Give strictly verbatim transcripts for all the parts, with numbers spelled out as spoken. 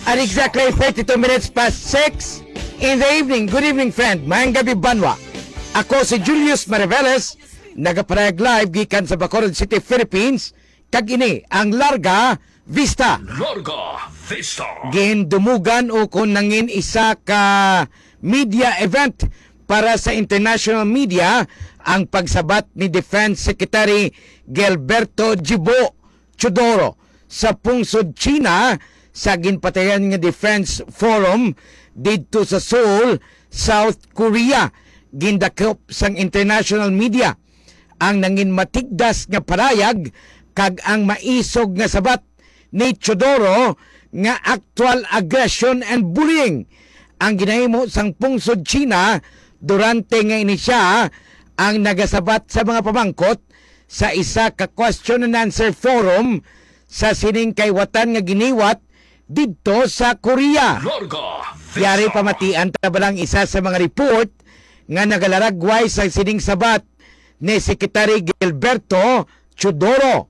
At exactly thirty-two minutes past six in the evening. Good evening, friend. Maayong gabi, banwa. Ako si Julius Mariveles, nagaparayag live gikan sa Bacolod City, Philippines. Kag ini ang Larga Vista. Larga Vista. Gindumugan o kung nangin isa ka media event para sa international media ang pagsabat ni Defense Secretary Gilberto Gibo Teodoro sa pungsod China sa ginpatayan nga Defense Forum didto sa Seoul, South Korea. Gindakop sang international media ang nangin matigdas nga parayag kag ang maisog nga sabat ni Teodoro nga actual aggression and bullying ang ginahimo sang pungsod China durante nga ini siya ang nagasabat sa mga pamangkot sa isa ka question and answer forum sa sining kaiwatan nga giniwat didto sa Korea. Larga Vista. Yari pamatian ta ba lang isa sa mga report nga nagalaragway sa sining sabat ni Secretary Gilberto Teodoro.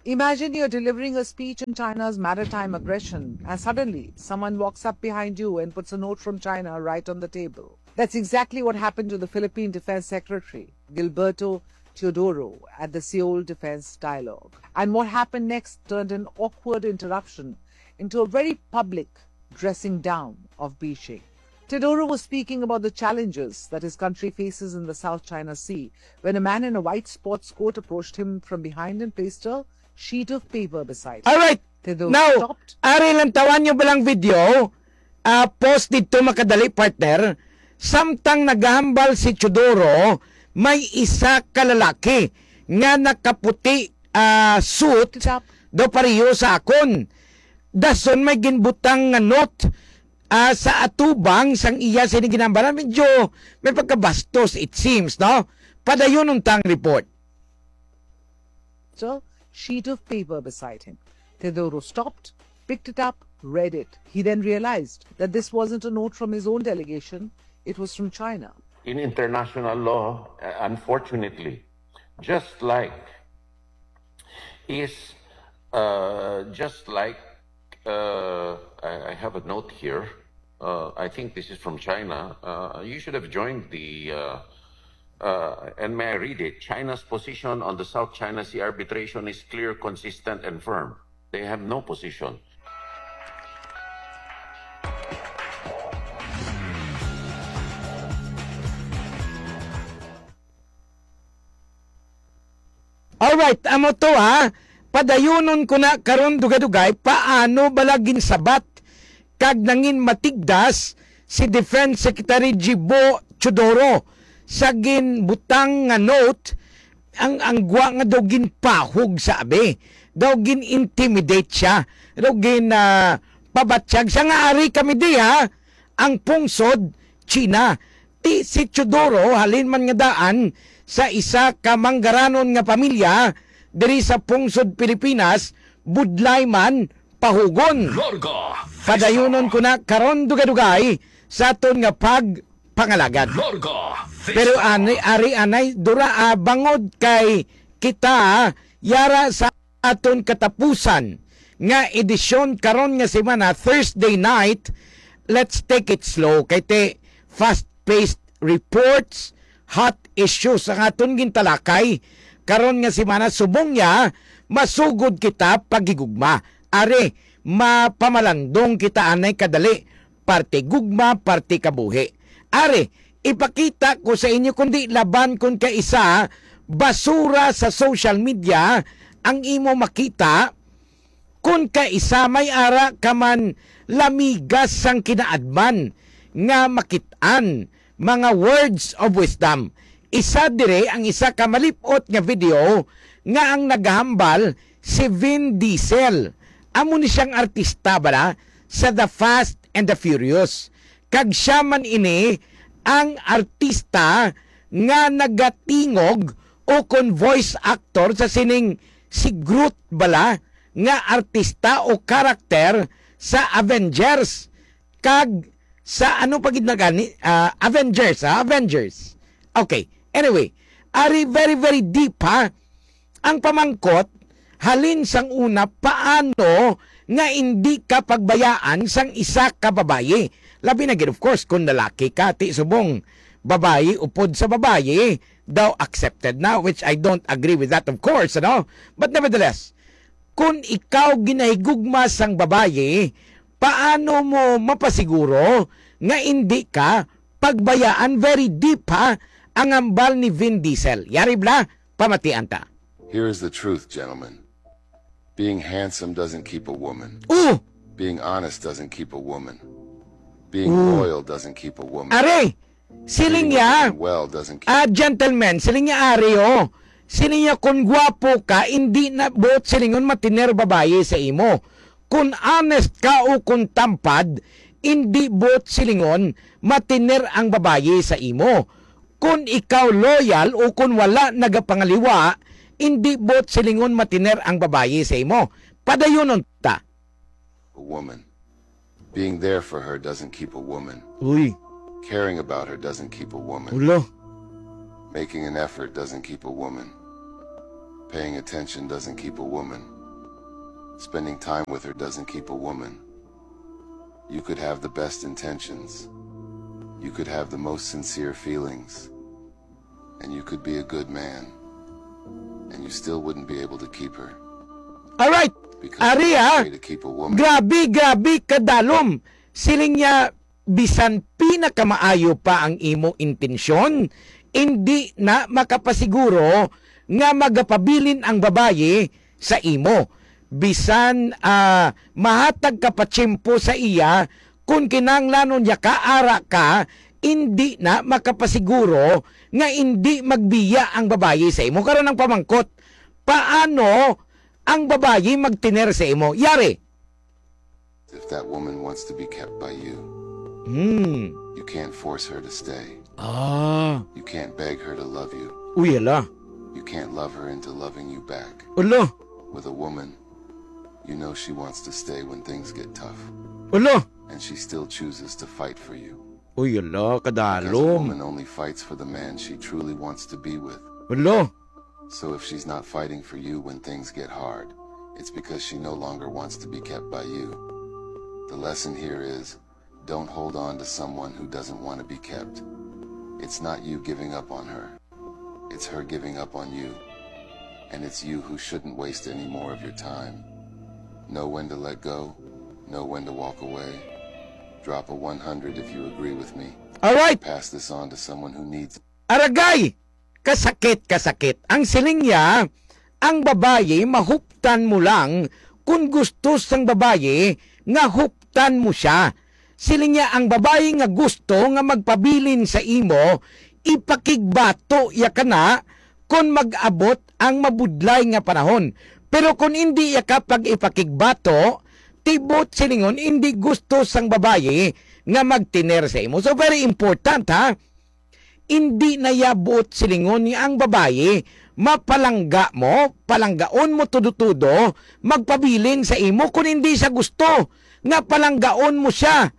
Imagine you're delivering a speech on China's maritime aggression, and suddenly someone walks up behind you and puts a note from China right on the table. That's exactly what happened to the Philippine Defense Secretary, Gilberto Teodoro, at the Seoul Defense Dialogue. And what happened next turned an awkward interruption into a very public dressing down of Beijing. Teodoro was speaking about the challenges that his country faces in the South China Sea when a man in a white sports coat approached him from behind and placed a sheet of paper beside him. Alright. Teodoro Now, stopped. Ari lang tawan nyo ba lang video? Ah, post dito makadali, partner. Samtang nagahambal si Teodoro, may isa ka lalaki nga nakaputi, ah, suit Stop. Daw pareho sa akon. Dason may ginbutang nga note, ah, sa atubang sang iya sini ginambaran. Medyo may pagkabastos, it seems, no? Padayon unta ang report. So, sheet of paper beside him. Teodoro stopped, picked it up, read it. He then realized that this wasn't a note from his own delegation, it was from China. In international law, uh, unfortunately, just like is, uh, just like, uh, I, I have a note here. Uh, I think this is from China. Uh, you should have joined the, uh, uh, and may I read it? China's position on the South China Sea arbitration is clear, consistent, and firm. They have no position. Alright, amo to ha. Padayunon ko na karon dugay-dugay paano bala ginsabat kag nangin matigdas si Defense Secretary Gibo Teodoro sa ginbutang nga note. Ang, ang gwa nga daw ginpahog sa abi, daw gin-intimidate siya, daw gin, ah, pabatyag siya nga ari kami diha ang pungsod China. Ti si Teodoro halin man nga daan sa isa ka manggaranon nga pamilya diri sa pungsod Pilipinas, budlay man pahugon. Larga Vista. Padayunon ko na karon dugay-dugay sa aton nga pagpangalagad. Larga Vista. Pero ani, ari anay, dura, ah, bangod kay kita, ah, yara sa aton katapusan nga edisyon karon nga semana, Thursday night, let's take it slow. Kay te, fast-paced reports, hot issues ang aton gintalakay karon nga semana. Subong niya, masugod kita paghigugma. Ari, mapamalandong kita anay kadali, parte gugma, parte kabuhi. Ari, ipakita ko sa inyo, kundi laban kon kaisa basura sa social media ang imo makita, kon kaisa may ara ka man lamigas sang kinaadman nga makit-an, mga words of wisdom. Isa dire ang isa ka malip-ot nga video nga ang nagahambal si Vin Diesel. Amo ni siyang artista bala sa The Fast and the Furious. Kag siya man ini ang artista nga nagatingog o kon voice actor sa sining si Groot bala nga artista o karakter sa Avengers kag sa ano pa gid na gani, ah, Avengers, ha? Avengers. Okay. Anyway, ari very, very deep, ha? Ang pamangkot, halin sang una, paano nga indi ka pagbayaan sang isa ka babayi. Labi na gid, of course, kung lalaki ka, ti subong babayi upod sa babayi, daw accepted na, which I don't agree with that, of course, ano? But nevertheless, kung ikaw ginahigugma sang babayi, paano mo mapasiguro nga indi ka pagbayaan? Very deep, ha, ang hambal ni Vin Diesel. Yari bala, pamatian ta. Here is the truth, gentlemen. Being handsome doesn't keep a woman. Oh! Being honest doesn't keep a woman. Being loyal doesn't keep a woman. Are, siling Treating a niya, woman well doesn't keep ah, gentlemen, siling niya, Are, oh. Siling niya, kung gwapo ka, hindi na buot silingon matiner babayi sa imo. Kung honest ka o kung tampad, hindi buot silingon matiner ang babayi sa imo. Kung ikaw loyal o kung wala nagapangaliwa, hindi buot silingon matiner ang babayi sa imo. Padayunon ta. A woman. Being there for her doesn't keep a woman. Uy, Caring about her doesn't keep a woman. ulo. Making an effort doesn't keep a woman. Paying attention doesn't keep a woman. Spending time with her doesn't keep a woman. You could have the best intentions. You could have the most sincere feelings. And you could be a good man. And you still wouldn't be able to keep her. Alright, Because Ari, the best ah. Way to keep a woman. Grabe, grabe, kadalom. Siling niya, bisan pinakamaayo pa ang imo intensyon, hindi na makapasiguro nga magapabilin ang babayi sa imo. Bisan, ah, mahatag ka pa tiyempo sa iya, kung kinahanglanon niya ka, ara ka, hindi na makapasiguro nga hindi magbiya ang babayi sa imo. Karon ang pamangkot, paano ang babayi magtiner sa imo? Yari. If that woman wants to be kept by you, Hmm. you can't force her to stay. Ah. You can't beg her to love you. Uy, hala. You can't love her into loving you back. Ulo. With a woman, you know she wants to stay when things get tough. Ulo. And she still chooses to fight for you. Uy, hala, Because a kadalom. Woman only fights for the man she truly wants to be with. Ulo. So if she's not fighting for you when things get hard, it's because she no longer wants to be kept by you. The lesson here is, don't hold on to someone who doesn't want to be kept. It's not you giving up on her. It's her giving up on you. And it's you who shouldn't waste any more of your time. Know when to let go, know when to walk away. Drop a one hundred if you agree with me. Alright. Pass this on to someone who needs Aragay! Kasakit, kasakit. Ang siling niya, ang babayi mahuptan mo lang kung gusto sang babayi nga huptan mo siya. Siling niya, ang babayi nga gusto nga magpabilin sa imo, ipakigbato ya kana kon mag-abot ang mabudlay nga panahon. Pero kon indi ya ka pag-ipakigbato, tibot silingon indi gusto sang babayi nga magtiner sa imo. So very important, ha? Indi na ya buot silingon nga ang babayi mapalangga mo, palanggaon mo tudo-tudo, magpabilin sa imo kun indi siya gusto nga palanggaon mo siya.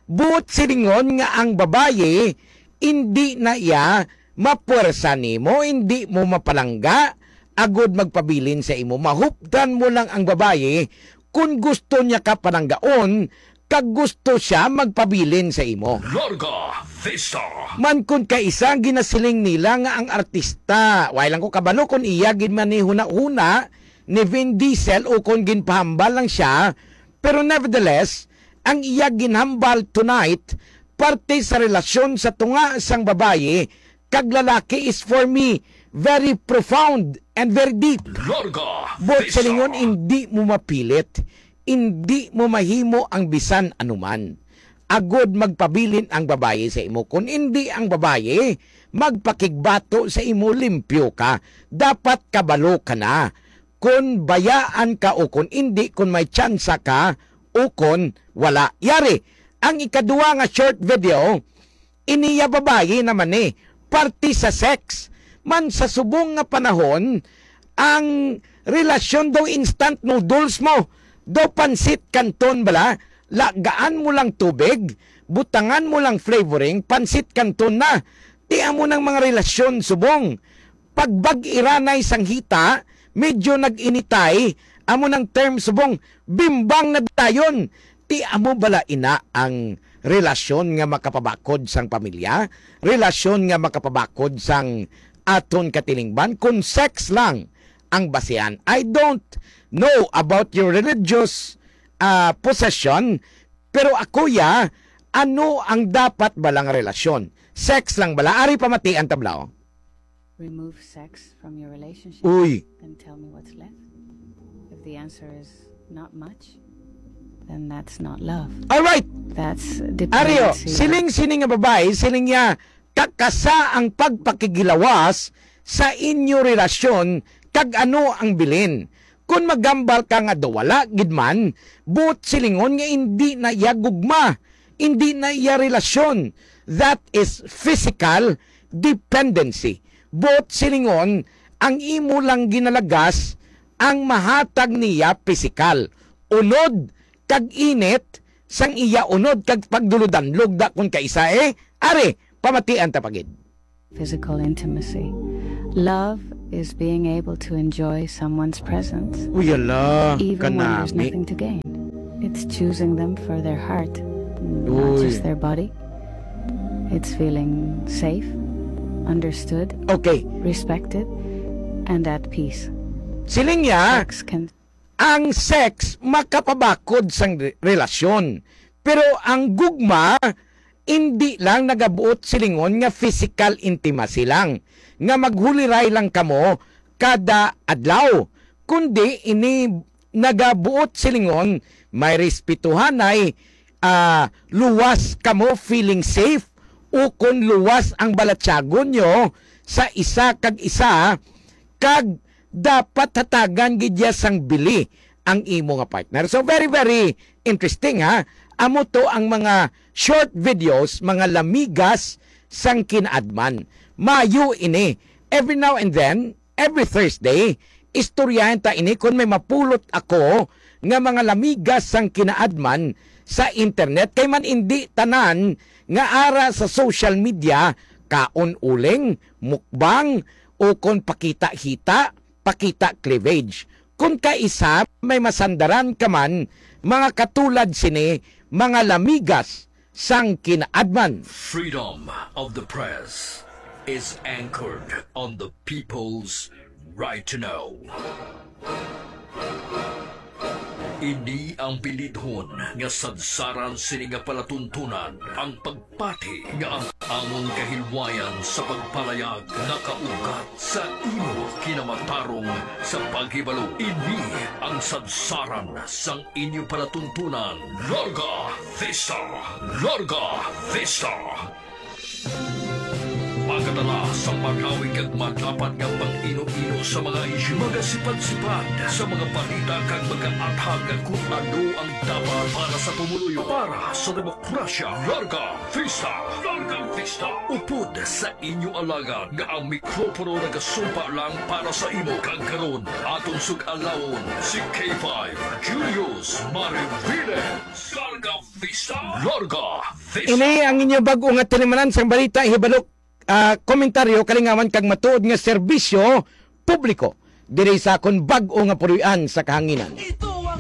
Buot silingon nga ang babayi indi na iya mapuwersa nimo, indi mo mapalangga agud magpabilin sa imo. Mahupdan mo lang ang babayi kun gusto niya ka palanggaon kag gusto siya magpabilin sa imo. Larga Vista. Man kun kaisa ang ginasiling nila nga ang artista, way lang ko kabalo kun iya gid man ni huna-huna ni Vin Diesel o kun ginpahambal lang siya, pero nevertheless, ang iya ginhambal tonight parte sa relasyon sa tunga sang babayi kag lalaki is for me very profound and very deep. Larga Buot Vista. silingon, indi mo mapilit, indi mo mahimo ang bisan anuman. Agod magpabilin ang babayi sa imo. Kun indi ang babayi, magpakigbato sa imo, limpyo ka. Dapat kabalo ka na. Kun bayaan ka o kun indi, kun may tsansa ka o kun wala. Yari, ang ikaduwa nga short video, iniya babayi naman ni, parte sa sex. Man sa subong nga panahon, ang relasyon daw instant noodles mo, daw pansit canton bala, lagaan mo lang tubig, butangan mo lang flavoring, pansit canton na. Ti amo nang mga relasyon subong. Pagbag-iranay sang hita, medyo nag-initay, Amo nang term subong bimbang na dayon. Ti amo bala ina ang relasyon nga makapabakod sang pamilya? Relasyon nga makapabakod sang aton katilingban? Kung sex lang ang basihan. I don't know about your religious, ah, position, pero ako, ya, ano ang dapat bala nga relasyon? Sex lang bala? Ari pamatian ta, Blau. Remove sex from your relationship, Uy. Then tell me what's left. If the answer is not much, then that's not love. Alright. That's Ario, dependency. Siling sini nga babae, siling niya, kakasa ang pagpakigilawas sa inyo relasyon kag ano ang bilin. Kun magambal ka nga daw wala gid man, buot silingon nga hindi na iya gugma, hindi na iya relasyon. That is physical dependency. Buot silingon, ang imo lang ginalagas ang mahatag niya pisikal, unod kag init sang iya unod kag pagduludanlog da kon kaisa, eh. Ari, pamatian ta pa gid. Physical intimacy. Love is being able to enjoy someone's presence, Uy, ala, even when there's kanami. Nothing to gain. It's choosing them for their heart, not Uy. Just their body. It's feeling safe, understood, Okay. Respected, and at peace. Siling niya, Sex can ang sex makapabakod sang re-, relasyon. Pero ang gugma, hindi lang nagabuot silingon nga physical intimacy lang, nga maghuliray lang kamo kada adlaw, kundi ini nagabuot silingon may respetuhanay, ah, luwas kamo feeling safe, ukon luwas ang balatyagon nyo sa isa kag isa, kag dapat hatagan gid ya sang bili ang imo nga partner. So, very, very interesting, ha. Amo to ang mga short videos, mga lamigas sang kinaadman. Mayo ini. Every now and then, every Thursday, istoryahan ta ini kon may mapulot ako nga mga lamigas sang kinaadman sa internet. Kay man indi tanan nga ara sa social media, kaon uling, mukbang, o kon pakita-hita, pakita cleavage. Kon kaisa may masandaran ka man, mga katulad sini, mga lamigas sang kinaadman. Freedom of the press is anchored on the people's right to know. Ini ang bilidhon nga sadsaran sini nga palatuntunan, ang pagpati nga ang amon kahilwayan sa pagpalayag nakaugat sa imo kinamatarong sa paghibalo. Ini ang sadsaran sang inyo palatuntunan. Larga Vista! Larga Vista! Magadala sa malawig kag madapat nga pag-ino-ino sa mga isyu, magasipad-sipad sa mga balita kag magaathag kung ano ang dapat para sa pumuluyo, para sa demokrasya. Larga Vista! Larga Vista! Upod sa inyo alagad nga ang mikropono nagasumpa lang para sa imo. Kag karon, aton sug-alawon si K five Julius Marivile. Larga Vista! Larga Vista! Ini ang inyo bag-o nga tinimanan sang balita, hibalo, ah, komentaryo, kalingawan kag matuod nga serbisyo publiko diri sa akon bag-o nga puloy-an sa kahanginan.